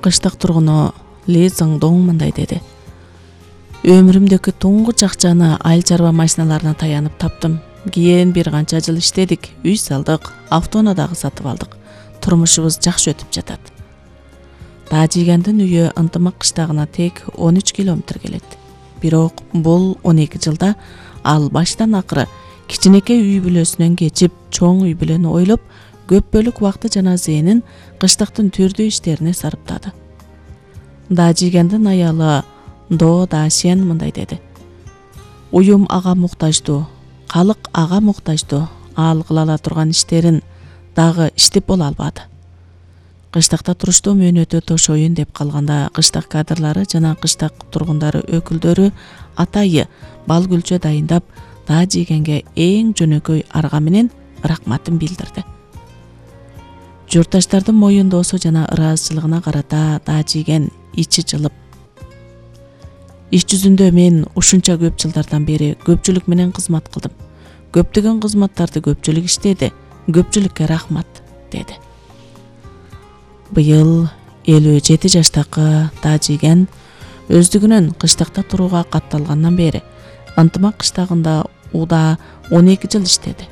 Кыштак тургуну Ли Зыңдоң мындай деди. Өмүрүмдөгү туңгуч акчаны айыл чарба машиналарына таянып таптым. Кийин бир канча жыл иштедик, үй салдык, автоунаа дагы сатып алдык. Турмушубуз жакшы өтүп жатат. Таажигендин үйү Ынтымак кыштагына тек 13 километр келет. Бирок бул 12 жылда ал баштан акыры кичинекей үй бүлөсүнөн кечип, чоң үй бүлөнү ойлоп, көп бөлүк убакты жана зээнин кыштактын түрдүү иштерине сарптады. Таажигендин аялы До Дашен мындай деди. Уюм ага муктаждуу, калык ага муктаждуу, ал кыла ала турган иштерин дагы иштеп боло албады. Кыштакта туруштуу мөөнөтү тошоюн деп калганда кыштак кадрлары жана кыштак тургундары өкүлдөрү атайы бал күлчө дайындап, Таажигенге эң жөнөкөй арга менен рахматын билдирди. Журтташтардын моюндоосу жана ыраазычылыгына карата Таажиген ичи жылып, иш жүзүндө мен ушунча көп жылдардан бери көпчүлүк менен кызмат кылдым. Көптөгөн кызматтарды көпчүлүк иштеди. Көпчүлүккө рахмат, деди. Быйыл 57 жаштагы Таажиген өздүгүнөн кыштакта турууга катталгандан бери Ынтымак кыштагында уда 12 жыл иштеди.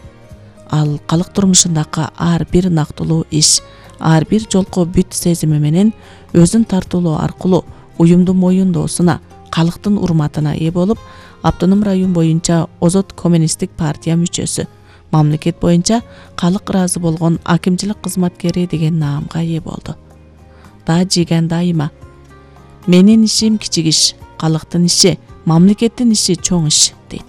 Ал калык турмушундагы ар бир нактылуу иш, ар бир жолку бүт сезими менен өзүн тартуулоо аркылуу уюмдун моюндоосуна, калктын урматына ээ болуп, автоном район боюнча Озот коммунисттик партия мүчөсү, мамлекет боюнча калык ыраазы болгон акимчилик кызматкери деген наамга ээ болду. Таажиген дайыма менин ишим кичик иш, калктын иши, мамлекеттин иши чоң иш дейт.